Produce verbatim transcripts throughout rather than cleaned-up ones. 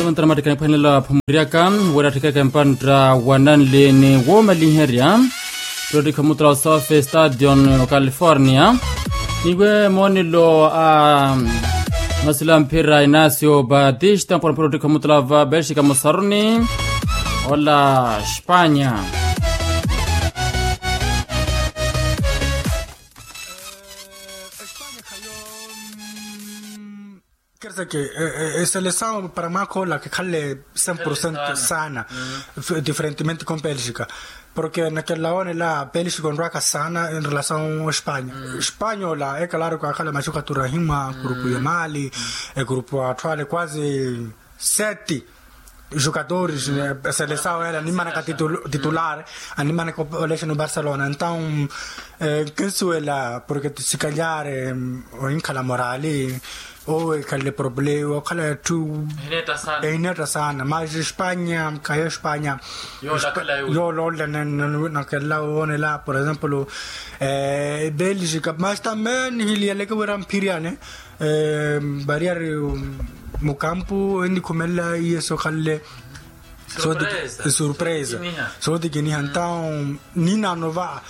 Contra mattikana epwanela phumuryaka wira attikaka empantta wa nanlini woomaliherya. Protiko mutla wa south stadion o california. Niwe moonelo a masila mphira inacio batista mpona protiko mutla wa belxika musaruni ola espanya. Kherseke eselesawu para mwaakha ola kikhalle cem por cento sana. Diferentemente com belgica, porque nakelela woonela belgica onrwaka sana en relasawu espanya. Espanya ola ekalaari kwakhala maxukatura ahimwa grupu ya mali, egrupu atthu ale quase sete jogadores. Eselesawu ele animanaka titulare, animanaka olexeni obarcelona entawu. Nkinsuwela porque tisikalyaare ohinkhala morali. Owo ekhalle problema okhala etthu ehineetta sana mas espanya khayo espanya. Yoololela nakelela woonela por exemplo belgica mas tambe nihiliyaleke wira mphiriyane. Variyari mukampu enikhumelela iye sokhalle. Surpresa. Sootikiniha entawu ninaano va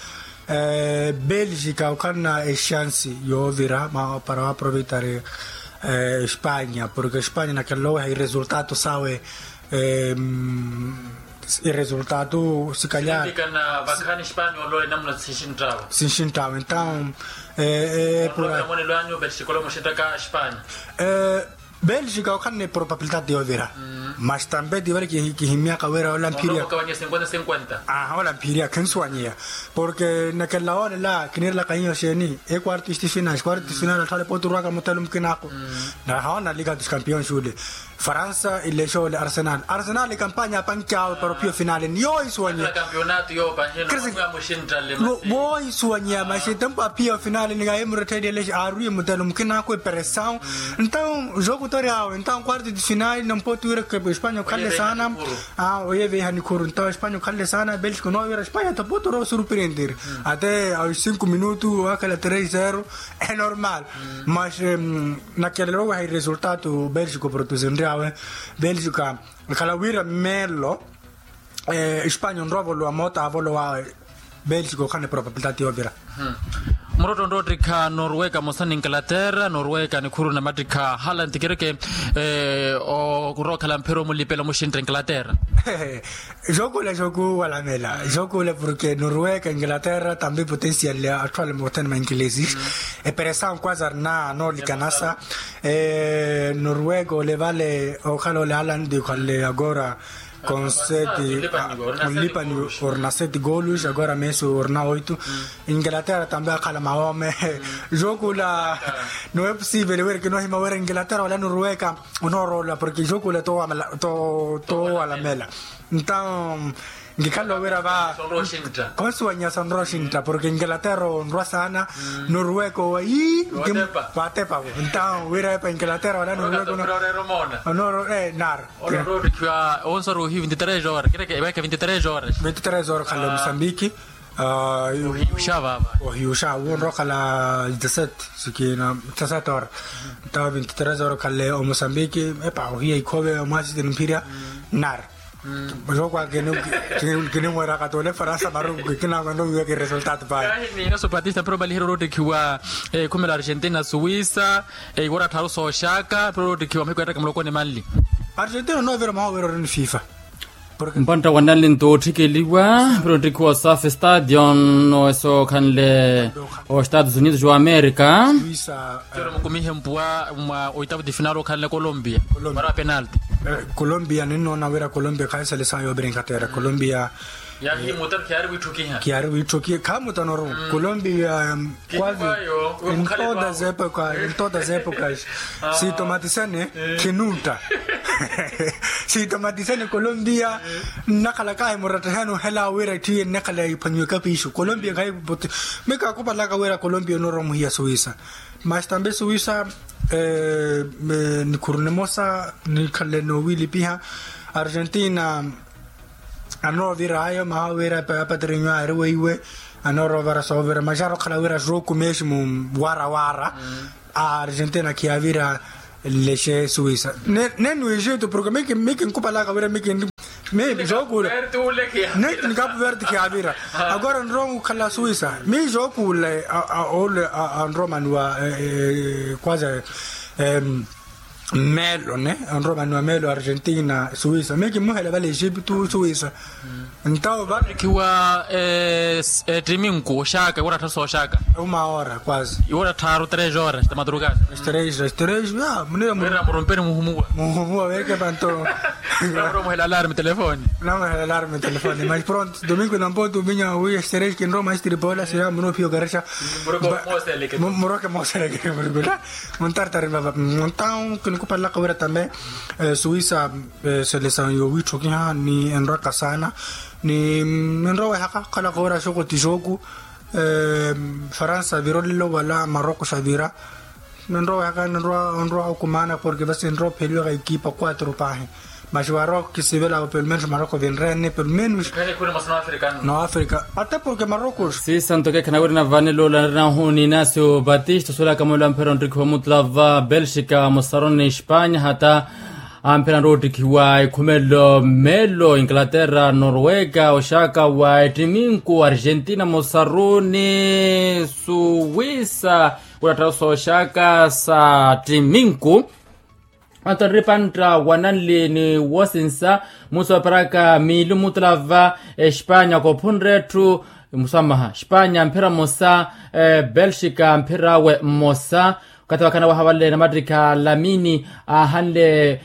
belgica okhalana exansi yoovira para waaproveitari espanya porque espanya nakelela oweha iresultatu sawe. Iresultatu sikalyaari. Sinxinttawe entawu epura belgica okhalana eprobabilidade yoovira. Mas tambe tiivale kihimyaka wira ola mphiriya. Ola mphiriya khinsuwanyeya porque nakelela woonela kiniirelaka hiyo xeeni. Equarto estifinal quarto estifinal atthu ale pooti orwaka mutelo mukinaku. Nahawoona liga dos campeões ule faransa ilexe ole arsenal arsenal ekampanya apanki awe para ophiya ofinalini yoohisuwanyeya. Woohisuwanyeya maxi tempu aphiya ofinalini kahimurettheliye lexe aarwiye mutelo mukinaku eperesawu. Entawu jogo tori awe entawu quarto de finali nampooti wira espanya okhalle sana. Oyeeveiha nikhuru entawu espanya okhalle sana belgica onoowa wira espanya tapooti orowa osurprendiri. Ate aos cinco minutu wakhela tres zero. Enormal. Mas nakelela oweha iresultatu belgica oprodusinryawe belgica. Ekhala wira mmeelo espanya onrowa ovolowa moota avolowawe. Belgica okhana eprobabilidade yoovira. Murotto onrowa ottikha norweka mosa ni inglaterra norweka nikhuru namattikha hala ntikireke. Orowa okhala mphira omulipela omuxintta inglaterra. Jookula jookuwalamela jookula porque norweka inglaterra tambe potencial atthu ale mothene ma inglesi. Eperesawu quase arina noolikanasa norweka ole vale okhala ole alandi okhalle agora. Con sete onlipani orina sete golos agora messi orina oito. Inglaterra tambe akhala mawoome jookula. Nowe posivele wira kinohima wira inglaterra ole norweka onoorola porque jookula towalamela. Entawu nkikhala owira va khonsuwanyiha sonroxintta porque inglaterra onrwa sana. Noruweka owa ii. Waatepa vo entawu wira epa inglaterra wala noruweka. Onooro naro. Onroottikhiwa onsoruhi vinti tres horas kireke eweke vinti tres horas. Vinti tres horas khale musambiki. Ohiyuxa vava ohiyuxa wonrowa okhala dezasete sikina. Dezasete horas. Entawu vinti tres horas khale omosambiki epa ohiya ikhove omwasiti nimphirya. Nari. Jooko a kini kinimweeraka t'ole faransa maru kikinakwenda owiweka iresultatu payi. Kahi ni yoso patista mpira omaliherya oroottikhiwa ekhumela argentina suwisa. Iwora attharu sooxaka mpira oroottikhiwa mahiku yattaka muloko ni manli. Argentina onoovira maha owira ori ni fifa. Mpantta wa nanlinto ootthikeliwa mpira oottikhiwa osafe stadion oweso okhanle o estados unidos wa america. Mukumihe mpuwa mwa oitapu ti final okhanle colombia. Mara wa penalti. Colombia ninnoona wira colombia khayi selesawu yoovira inkhattera colombia. Yahimuta khiyaari wiitthukiha khiyaari wiitthukiha khamuta noru. Colombia quase em todas as épocas em todas as épocas. Sitomatisene. Khinutta. Sitomatisene colombia. Nnakhala kahi murattahani ohela wira itthu iye nnakhala iphwanyiwe kapiixu colombia khayi. Mika akupalaka wira colombia onoorowa muhiya suwisa. Mas tambe suwisa nikhuru nimosa nikhanle noowilipiha. Argentina anoovira ayo maha wira apatrinyo aari weiwe. Anooroovara soovira mas arookhala wira jooku mesmo wara wara. A argentina khiyavira. Nlexe suwisa. Nenu ejito porke mi kinkupalaka wira mi kinri mi jookula. Neti ni kapu verde kiyavira. Agora nrowa mukhala suwisa mi jookula. Ole anrowa manuwa kwaza melo ne anrowa manuwa melo argentina suwisa mi kimuhela vale ejiptu suwisa. Ntawo vale. Kiwa ettiminku oxaka iwo rattha sooxaka. Uma hora kwaza. Iwo rattharu tres horas ta madrugada. Tres tres ya munira murumpeni muhumuwa. Muhumuwa weke panto. Muhela alarme telefoni. Muhela alarme telefoni mas pronto domingo nampo domingo wi tres kinroma istripola sira muno pio garexa. Muroke moseleke murugula. Muntartari vava. Montaw kinikupalaka wira tambe suwisa selesaw yowitthokiha ni enrwaka saana. Ni enrowehaka khalaka wira xoko ti xooku. Faransa vira olelo wala maroko xavira. Nenrowehaka nenrowa okumana porke vasi enrowa opheliwaka ekipa quatro pahi. Mas maroko kisivela pelo menos maroko vinrene pelo menos. Noafrika ata porke maroko. Sisanto kekhana wiri navane loola nari nahu ni inasio batista suwelaka mwelo amphera onrikhiwa mutlava belxika mosaroni espanya hata amphera nrowa ottikhiwa ekhumelo melo inglaterra norwega oxaka wa ettiminku argentina mosaruni suwisa. Kulattha sooxaka sa ttiminku. Anto nripantta wa nanli ni wosinsa musi operaka miili mutulava espanya kophunre etthu. Musamaha espanya mphira mmosa belxika mphira awe mmosa. Okathi wakhana waha vale namattikha lamini aahanle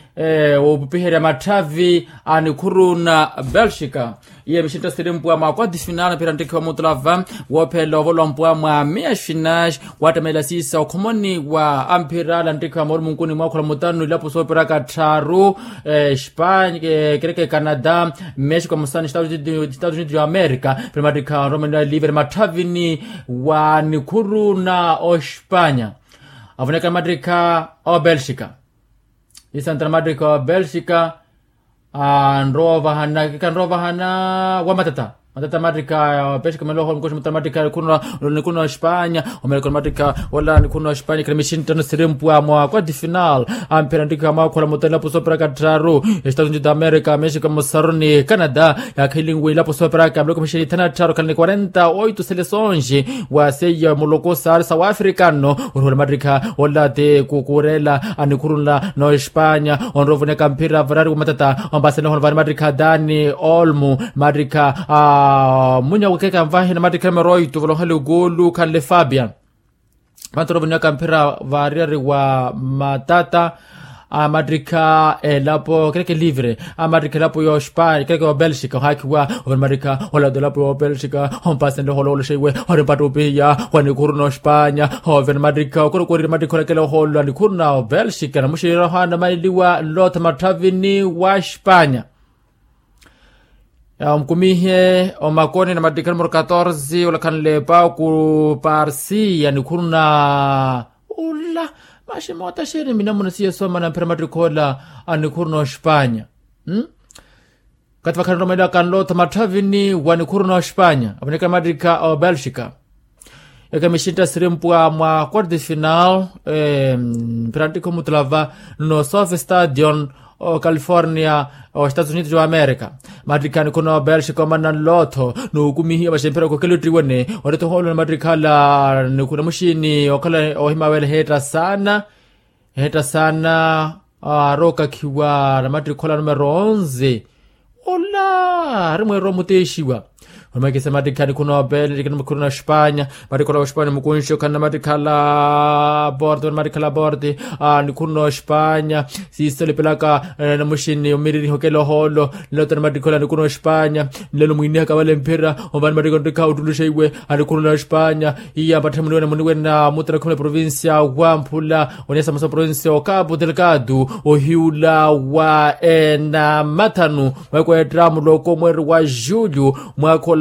opipiherya matthavi a nikhuru na belxika. Iye mixintta siri mpwa mwa quarto final mphira nttikhiwa mutulava woophela ovolowa mpwa mwa meas finais. Waattamela siisa okhomoni wa amphira ala nttikhiwa moorumunkuni mwaakhula mutanu ilapo soopiraka tthaaru espanya kereke canada mexico musani estados unidos ya america. Mphira mattikha onromaniwa livre matthavini wa nikhuru na ospanya. Avoneka namattikha obelxika. Isanta namattikha obelxika. Anrowa ovahana kikanrowa ovahana wa matata matata mattikha. Obelxika omela ohola mukoxi mutala mattikha nikhuru na ospanya. Omeleka namattikha ola nikhuru na ospanya kila mixinttano siri mpwa mwa quarto final. Amphira nttikha mwaakhula mutala ilapo soopiraka tthaaru estados unidos da america mexico mosaruni canada. Yaakhelinwe ilapo soopiraka miloko mixini thana tthaaru khalani quarenta oito seleções. Wa seiya muloko saari sa waafrika nno. Orihola mattikha ola ti kukuurela anikhurunla n'ospanya onrowa ovoneka mphira varari wa matata. Ompasani ohono vari mattikha dani olmu mattikha a munya wekeka nvahina mattikha numero oito volokhali okoolu khanle fabian. Vantu onrowa ovoneka mphira variyari wa matata. Amattikha elapo kereke livre amattikha elapo yospanya kereke obelxika ohaakhiwa. Ovene mattikha olado elapo yobelxika ompasenle oholowolo xeiwe ori mpatta opihiya wa nikhuru nospanya. Ovene mattikha okorokorire mattikha olakela ohololo a nikhuru na obelxika namuxirira ohaana mailiwa nlotha matthavini wa spanya. Omukumihe omakoni namattikha numero catorze olakhanle epaku parsi a nikhuru na ula. Maxi moota xeeni minamuna siya soomana mphira mattikha ola a nikhuru nospanya. Kathi vakhala nromeeliwaka nlotha matthavini wa nikhuru nospanya avoneka namattikha obelxika. Eke mixintta siri mpwa mwa quarto final mphira nttikha omutulava no sofe stadion o california o estados unidos wa america. Mattikha nikhuru na obelxika omanna nlotho nuukumihiwa vaxemphera okokela ottiwene. Oreto ohoolwa namattikha ala nikhuru na muxini okhala ohima wela eheetta saana. Eheetta saana. Aari okakhiwa namattikha ola numero onze. Ola ari mweererwa omuteexiwa. Orumekisa mattikha nikhuru na obelxika nikhuru na ospanya. Mattikha ola ospanya mukunxi okhala namattikha ala porte mattikha ala porte. Nikhuru na ospanya siisa olipelaka namuxini omiririha okela ohoolo. Nlotha namattikha ola nikhuru na ospanya. Nlelo mwiinihaka vale mphira omvani mattikha onttikha ottuluxa iwe. Anikhuru na ospanya iya mpatthe muniwene muniwene na mutara khumi na provincia wamphula. Oniya samosa provincia okapu delgado ohiula wa ena mathanu. Mweeko eetta muloko mweeri wa julio mwaakha ola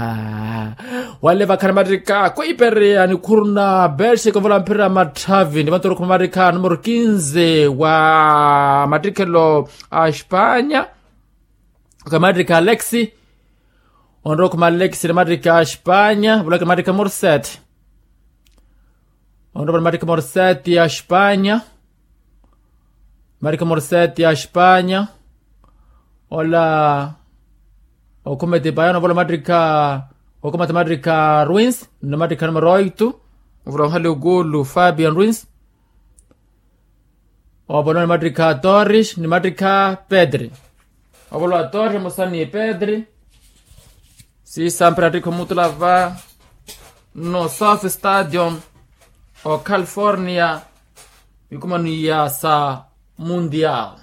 Wale vakhani mattikha khuipereya nikhuru na belxika ovola mpira matthavi ni vantu orokhu mamattikha numero kinze wa mattikhelo a espanya. Khamattikha alexi. Onrowa okhuma alexi ni mattikha a espanya vula khamattikha morset. Onrowa ni mattikha morset ya espanya. Mattikha morset ya espanya. Ola okhuma etipayano vula mattikha okhuma ti mattikha ruins ni mattikha numero oitu. Vula onhali okulu fabian ruins. Ovolowa ni mattikha torres ni mattikha pedri. Ovolowa torres musa ni pedri. Siisa mpira attikha omutula va no south stadium o california. Mikumano iya sa mundial.